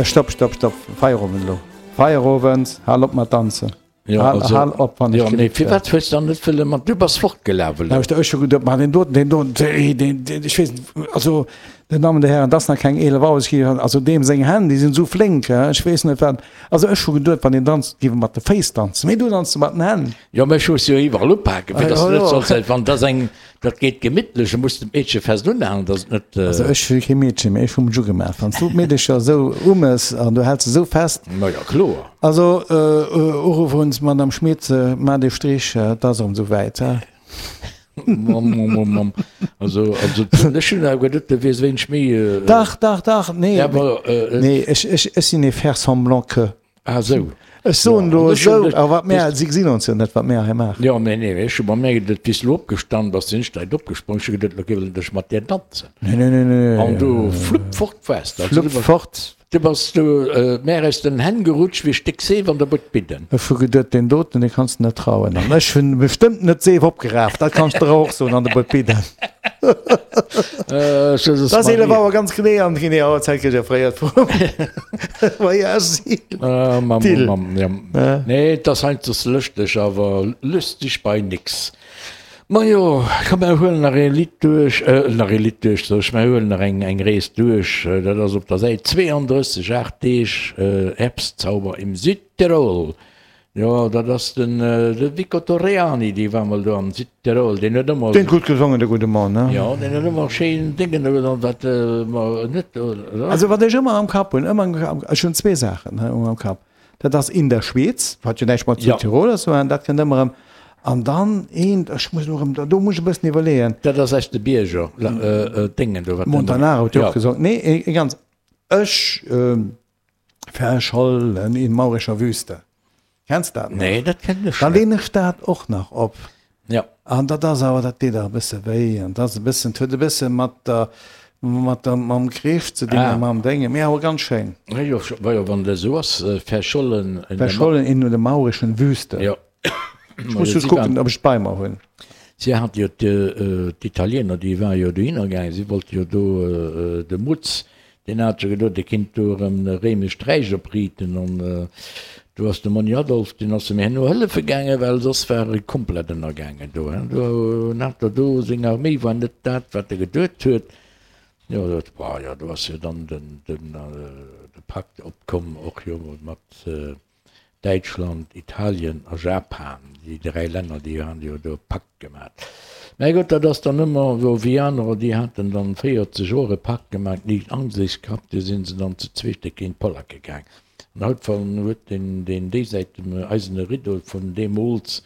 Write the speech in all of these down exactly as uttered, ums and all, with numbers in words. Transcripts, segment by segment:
Stopp, stopp, stopp, Feierowend elo. Feierowend, hal op mat danzen. Jo, Hal, also, hal op, wann ech jo, nee, gelift firwat hues dann net wëlle mat, du bass fortgelaf elo. Lauschter, ech hu geduet, ma deen doten, deen doten, deen, deen, deen, ech weess net, also, den Damen, de Hären, dat ass nach keng eelef Auer, ech gi, also deem seng Hänn, déi sinn esou flénk, hä, ech weess net wat, also ech hu geduet, wann een danzt, géif e mat de Féiss danzen, mee du danz mat den Hänn. Jo, mä ech hu se jo iwwerall upaken, fir Ah, dass jo, du net jo. solls, wann dass eng, Dat geet gemittlech, e muss d'Meedche fest unhalen, dass et net. Also ech hu kee Meedchen, mee ech hu mech ugemaach. Wann s du d'Meedecher esou umes an du häls se esou fest. Ma jo, kloer. Also Uruff un d'Madame Schmit, maach dee Strich, et ass erëm esou wäit. Mamm, mamm, mamm. Also, also ech hunn awer geduet, du wiers wéineg méi. Dach, dach, dach, nee, Awer. Nee, ech, ech, ech sinn ee faire semblant que. Ah sou. Ech soen Ja, elo an ech hunn esou, net- awer wat mär, si gesinn ons jo net, wat mär hei maachen. Jo, nee, nee, ech hu mer méi geduet, wéi s du elo opgestanden bass, sinn ech direkt opgesprong. Ech hu geduet, elo géif ech mat dir danzen. Nee, nee, nee, nee. An du flupp fort waars de. Also Flupp du bass, fort. du bass du mär aus den Hänn gerutscht wéi e Stéck Seef an der Butt bidden. Ech hu geduet, deen doten, dee kanns de net trauen. An ech hunn bestëmmt net d'Seef opgeraaft, dat kanns de der och soen, an der Butt bidden. Äh, Jesus Dat ass eelef Maria. Auer ganz genee an genee Auerzäit kritt ech erfréiert vum Voyage. Ah, Mamm, Till. Mamm, ja. Nee, et ass heiansdo lëschteg, awer lüsteg bei nix. Majo, komm mer huelen nach ee Lidd duerch, äh, nach ee Lidd duerch, sot ech, mer huelen nach eng, eng Rees duerch. Dat ass op der Säit zweeandrësseg, Aacht Deeg äh, Herbstzauber im Südtirol. Jo, dat ass den, de Vico Torreani, dee war mol do am Südtirol, deen huet ëmmer. Deen huet gutt gesongen, de gudde Mann, ne? Jo, deen huet ëmmer schéin Déngen do gedaan, wat mer net, oder? Also wat ech ëmmer am Kapp hunn, ëmmer am Kapp, ech hunn zwee Saachen ëmmer am Kapp, dat ass In der Schweiz, wat jo näischt mat Südtirol ass, mä dat kënnt ëmmer erëm, an dann eent, ech muss elo erëm, do muss ech e bëssen iwwerleeën. Dat ass aus de Bierger, Déngen do, wat. Montanaro huet jo och gesongen. Nee, e ganz, ech verschollen in maurischer Wüste. Kenns dat nach? Nee, dat kennen ech Dann net. leen ech dat och nach op. Ja. An dat ass awer, dat deet awer e bësse wéi an dat ass e bëssen, huet e bësse mat der, mat der, mam Krich ze dinn a Ah. mam Déngen, mee awer ganz schéin. Ja, jo, wa jo, wann dat esou ass, verschollen in der Ma. Verschollen in der maurischen Wüste. Ja. Ech muss just kucken, ob ech et bei mer hunn. Si hat jo d'Italiener, déi ware jo dohinner gaangen, si wollte jo do de Mutz, deen hat jo geduet, e kinnt do erëm e réimescht Räich opriiten an do ass de Monni Adolf, deen ass em herno hëllefe gaangen, well soss war e komplett ënnergaangen do. Do hat der do seng Arméi war net dat, wat e geduet huet. Jo, dat war jo, do ass jo dann den, den, de Pakt opkomm och jo mat. Däitschland, Italien a Japan, déi dräi Länner, déi han jo do e Pakt gemat. Mä gutt, dat ass dann ëmmer esou wéi anerer, déi haten dann véierzeg Joer e Pakt gemat, nicht an sech gehabt, du sinn se dann zu zweete géint d'Polacke gaang. An haut wann huet deen, deen déisäit dem eisene Rideau vun deemools,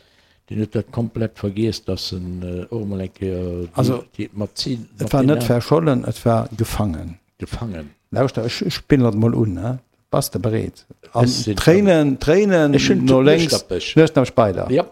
deen huet dat komplett vergiess, dass en och emol eng Kéier Also, déi mat si, et mat war deenen net verschollen, et war gefangen. Gefangen. Lauschter, ech spillen dat mol un, he? Bass de bereet? An Ech sinn Tréinen, Tréinen Ech hunn no lénks, Nueschnappech. Nueschnappech bei der. Ja.